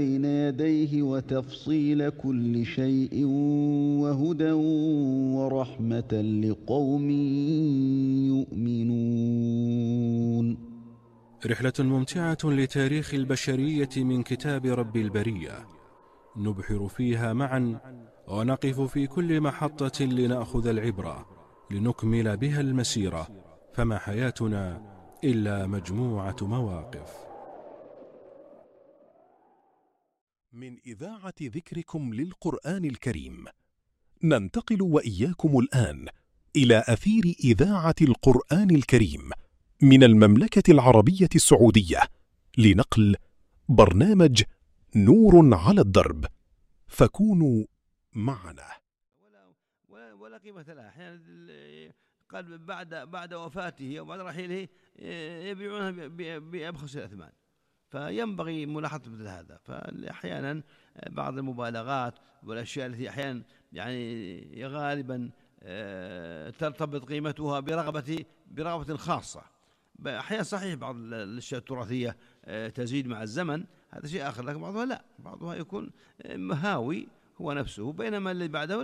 بين يديه وتفصيل كل شيء وهدى ورحمة لقوم يؤمنون. رحلة ممتعة لتاريخ البشرية من كتاب رب البرية، نبحر فيها معا ونقف في كل محطة لنأخذ العبرة لنكمل بها المسيرة، فما حياتنا إلا مجموعة مواقف. من إذاعة ذكركم للقرآن الكريم ننتقل وإياكم الآن إلى أثير إذاعة القرآن الكريم من المملكة العربية السعودية لنقل برنامج نور على الدرب، فكونوا معنا. ولا قيمة لها. أحيانا قال بعد وفاته أو بعد رحيله يبيعونها بأبخس الأثمان، فينبغي ملاحظة مثل هذا. فأحيانا بعض المبالغات والأشياء التي أحيانا يعني غالبا ترتبط قيمتها برغبة خاصة. أحيانا صحيح بعض الأشياء التراثية تزيد مع الزمن، هذا شيء آخر، لكن بعضها لا، بعضها يكون مهاوي هو نفسه، بينما اللي بعده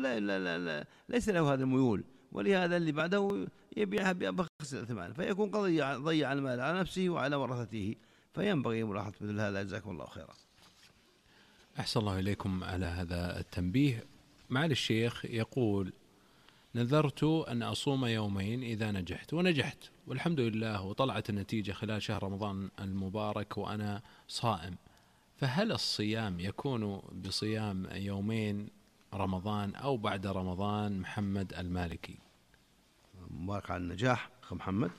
ليس له هذا الميول، ولهذا اللي بعده يبيعها بأبخس الثمن، فيكون قد ضيع المال على نفسه وعلى ورثته. فينبغي ملاحظة مثل هذا. جزاكم الله خيرا. أحسن الله إليكم على هذا التنبيه. معالي الشيخ يقول: نذرت أن أصوم يومين إذا نجحت، ونجحت والحمد لله، وطلعت النتيجة خلال شهر رمضان المبارك وأنا صائم، فهل الصيام يكون بصيام يومين رمضان أو بعد رمضان؟ محمد المالكي. مبارك على النجاح أخ محمد،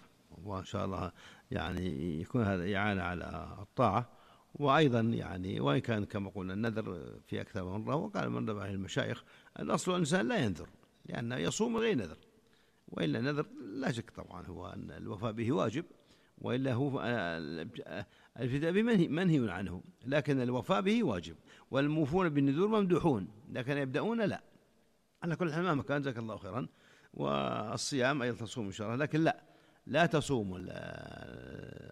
وإن شاء الله يعني يكون هذا إعانة على الطاعة. وأيضا يعني وإن كان كما قلنا النذر في أكثر من مرة، وقال من ربع المشايخ الأصل الإنسان لا ينذر لأنه يصوم غير نذر، وإلا نذر لا شك طبعا هو أن الوفاء به واجب، وإلا هو الابتداء به منهي عنه، لكن الوفاء به واجب. والموفون بالنذور ممدوحون، لكن يبدأون لا. على كل حال ما مكان، جزاك الله خيرا. والصيام أيضا تصوم إن شاء الله، لكن لا تصوم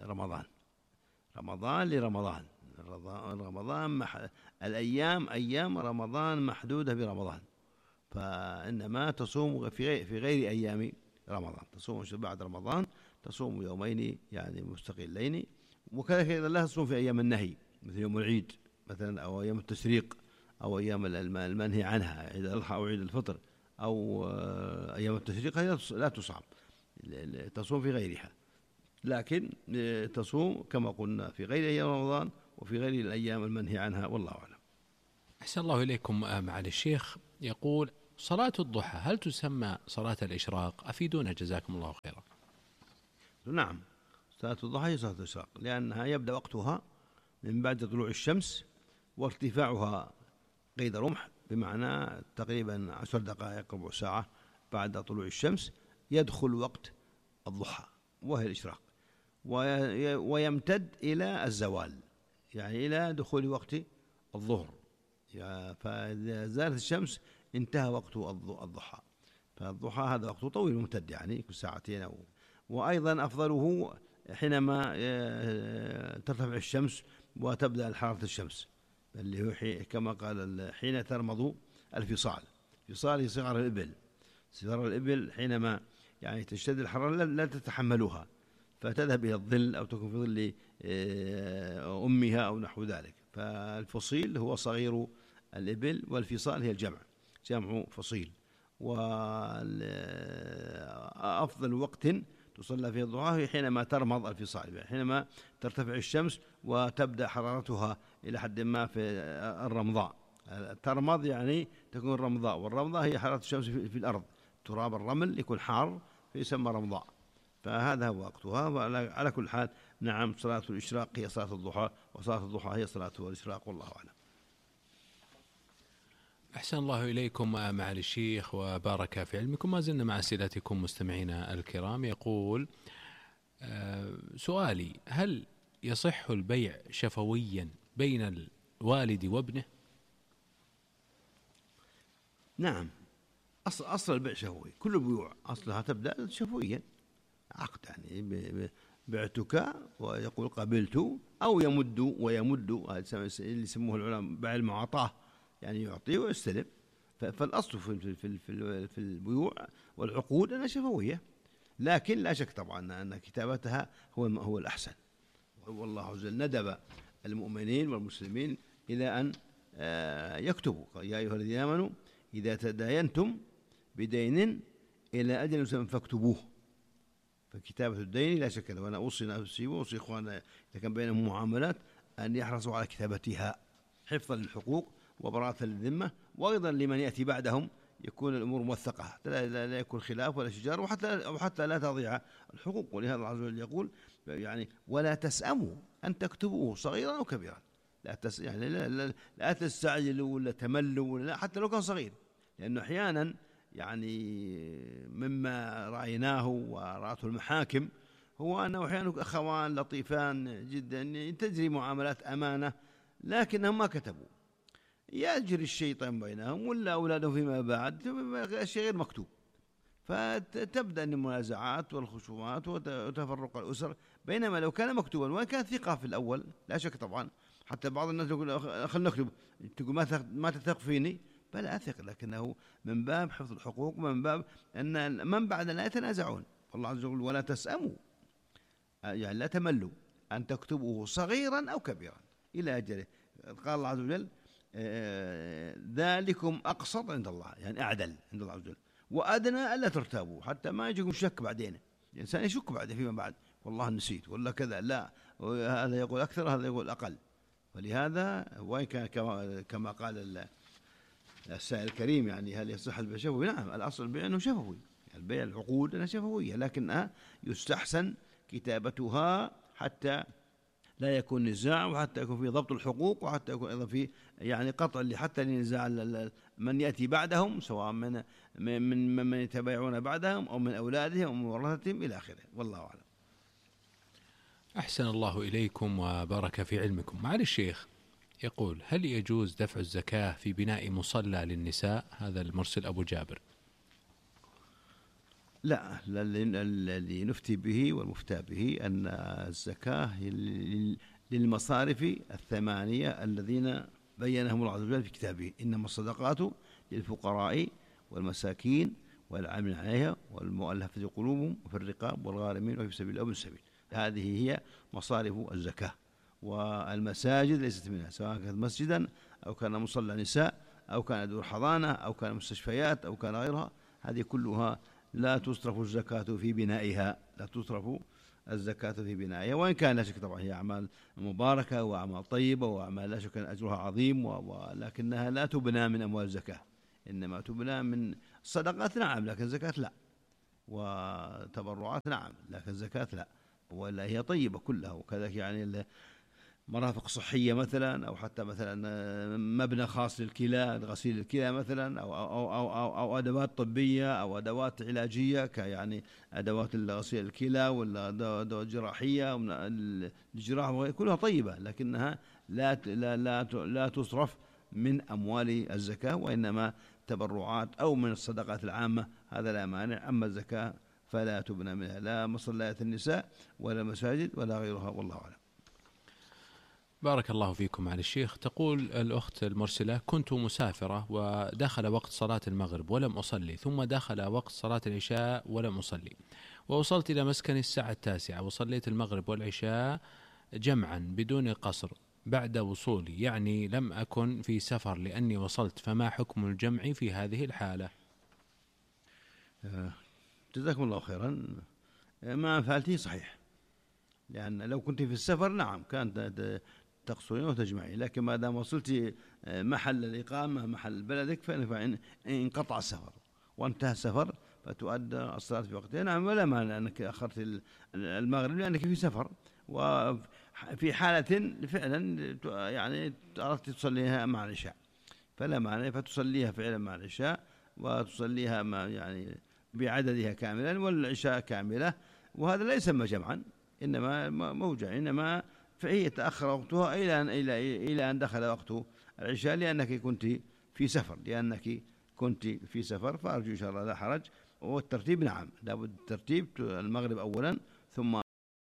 رمضان لرمضان. أيام رمضان محدودة برمضان، فإنما تصوم في غير أيام رمضان. تصوم بعد رمضان تصوم يومين يعني مستقلين، وكذلك إذا لا تصوم في أيام النهي مثل يوم العيد مثلا، أو أيام التشريق، أو أيام المنهي عنها، عيد الأضحى أو عيد الفطر، أو أيام التشريق لا تصام، تصوم في غيرها، لكن تصوم كما قلنا في غير أيام رمضان وفي غير الأيام المنهي عنها، والله أعلم. أحسن الله إليكم. معالي الشيخ يقول: صلاة الضحى هل تسمى صلاة الإشراق؟ أفيدونا جزاكم الله خيرا. نعم، صلاة الضحى هي صلاة الإشراق، لأنها يبدأ وقتها من بعد طلوع الشمس، وارتفاعها قيد رمح، بمعنى تقريبا 10 دقائق ربع ساعة بعد طلوع الشمس يدخل وقت الضحى وهي الإشراق، ويمتد إلى الزوال، يعني إلى دخول وقت الظهر. فإذا زالت الشمس انتهى وقت الضحى. فالضحى هذا وقت طويل ممتد، يعني ساعتين. وأيضا أفضله حينما ترتفع الشمس وتبدأ حرارة الشمس، اللي هو كما قال حين ترمض الفصال. فصال هي صغار الإبل. صغار الإبل حينما يعني تشتد الحرارة لا تتحملها، فتذهب إلى الظل أو تكون في ظل أمها أو نحو ذلك. فالفصيل هو صغير الإبل، والفصال هي جمع فصيل. وأفضل وقت تصلى فيه الضحى حينما ترمض الفصال، حينما ترتفع الشمس وتبدأ حرارتها إلى حد ما في الرمضاء. ترمض يعني تكون رمضاء، والرمضاء هي حرارة الشمس في الأرض، تراب الرمل يكون حار فيسمى رمضاء. فهذا هو وقتها. وعلى كل حال نعم، صلاة الإشراق هي صلاة الضحى، وصلاة الضحى هي صلاة الإشراق، والله أعلم. أحسن الله إليكم معالي الشيخ وبارك في علمكم. ما زلنا مع أسئلتكم مستمعينا الكرام. يقول: سؤالي: هل يصح البيع شفويا بين الوالد وابنه؟ نعم، أصل البيع شفوي. كل البيوع أصلها تبدأ شفويا، عقد يعني بعتك ويقول قبلت، أو يمد ويمد، هذا اللي يسموه العلماء بيع المعاطاة، يعني يعطي ويستلم. فالأصل في البيوع والعقود أنها شفوية، لكن لا شك طبعا أن كتابتها هو الأحسن. والله عز وجل ندب المؤمنين والمسلمين إلى أن يكتبوا: يا أيها الذين آمنوا إذا تداينتم بدين إلى أجل مسمى فاكتبوه. فكتابة الدين لا شك له، وأنا أوصي نفسي وأوصي إخواننا إذا كان بينهم معاملات أن يحرصوا على كتابتها حفظا للحقوق وبراءة للذمة، وأيضا لمن يأتي بعدهم يكون الأمور موثقة حتى لا يكون خلاف ولا شجار، وحتى لا تضيع الحقوق. ولهذا الله عز وجل يقول يعني: ولا تسأموا أن تكتبوه صغيرا أو كبيرا. يعني لا تستعجلوا ولا تملوا ولا حتى لو كان صغير، لأنه أحيانا يعني مما رأيناه ورأته المحاكم هو أنه أحيانا أخوان لطيفان جدا تجري معاملات أمانة لكنهم ما كتبوا، يجري الشيطان بينهم ولا أولادهم فيما بعد شيء غير مكتوب، فتبدأ المنازعات والخصومات وتفرق الأسر. بينما لو كان مكتوبا وإن كان ثقة في الأول لا شك طبعا، حتى بعض الناس يقول خلنا نكتب، تقول ما تثق فيني، بل أثق، لكنه من باب حفظ الحقوق ومن باب أن من بعد لا يتنازعون. والله عز وجل: ولا تسأموا، يعني لا تملوا أن تكتبوه صغيرا أو كبيرا إلى أجله. قال الله عز وجل: ذلكم أقسط عند الله، يعني أعدل عند الله عز وجل، وأدنى ألا ترتابوا، حتى ما يجيكم شك بعدين، الإنسان يشك بعد فيما بعد، والله نسيت ولا كذا، لا، هذا يقول أكثر هذا يقول أقل. ولهذا وإن كان كما قال السائل الكريم يعني هل يصح البيع شفوي؟ نعم، الأصل البيع أنه شفوي، البيع العقود أنها شفوية، لكنها يستحسن كتابتها حتى لا يكون نزاع، وحتى يكون في ضبط الحقوق، وحتى يكون أيضا في يعني قطع حتى لنزاع من يأتي بعدهم، سواء من يتبايعون بعدهم أو من أولادهم أو من ورثتهم إلى آخره. والله أعلم. أحسن الله إليكم وبارك في علمكم. معالي الشيخ يقول: هل يجوز دفع الزكاة في بناء مصلى للنساء؟ هذا المرسل أبو جابر. لا، الذي نفتي به والمفتى به أن الزكاة للمصارف الثمانية الذين بينهم الله عز وجل في كتابه: إنما الصدقات للفقراء والمساكين والعاملين عليها والمؤلفة قلوبهم وفي الرقاب والغارمين وفي سبيل الله وابن السبيل. هذه هي مصارف الزكاة. والمساجد ليست منها، سواء كانت مسجدا أو كان مصلى نساء أو كان دور حضانة أو كان مستشفيات أو كان غيرها، هذه كلها لا تصرف الزكاة في بنائها، لا تصرف الزكاة في بنائها، وإن كان لا شك طبعا هي أعمال مباركة وأعمال طيبة وأعمال لا شك أن أجرها عظيم، ولكنها لا تبنى من أموال الزكاة، إنما تبنى من صدقات، نعم، لكن زكاة لا، وتبرعات نعم، لكن زكاة لا، ولا هي طيبة كلها. وكذلك يعني مرافق صحية مثلا، أو حتى مثلا مبنى خاص للكلى، غسيل الكلى مثلا، أو أدوات طبية أو أدوات علاجية كيعني أدوات غسيل الكلى ولا أدوات جراحية الجراحة، كلها طيبة، لكنها لا تصرف من أموال الزكاة، وإنما تبرعات أو من الصدقات العامة، هذا لا مانع. أما الزكاة فلا تبنى منها لا مصليات النساء ولا مساجد ولا غيرها، والله أعلم. بارك الله فيكم على الشيخ. تقول الأخت المرسلة: كنت مسافرة ودخل وقت صلاة المغرب ولم أصلي، ثم دخل وقت صلاة العشاء ولم أصلي، ووصلت إلى مسكني الساعة 9 وصليت المغرب والعشاء جمعا بدون قصر بعد وصولي، يعني لم أكن في سفر لأني وصلت، فما حكم الجمع في هذه الحالة؟ جزاكم الله خيرا. ما فعلته صحيح، لأن لو كنت في السفر نعم كانت تقصرين وتجمعين، لكن ما دام وصلت محل الإقامة محل بلدك فإن انقطع السفر وانتهى السفر فتؤدى الصلاة في وقتها، نعم، ولا مانع أنك أخرت المغرب لأنك في سفر، وفي حالة فعلا يعني أردت تصليها مع العشاء فلا مانع، فتصليها فعلا مع العشاء وتصليها يعني بعددها كاملا والعشاء كاملة، وهذا لا يسمى جمعا، إنما موجع، إنما فهي تأخر وقتها إلى أن دخل وقت العشاء لأنك كنت في سفر، فأرجو إن شاء الله لا حرج. والترتيب نعم، لابد الترتيب، المغرب أولا ثم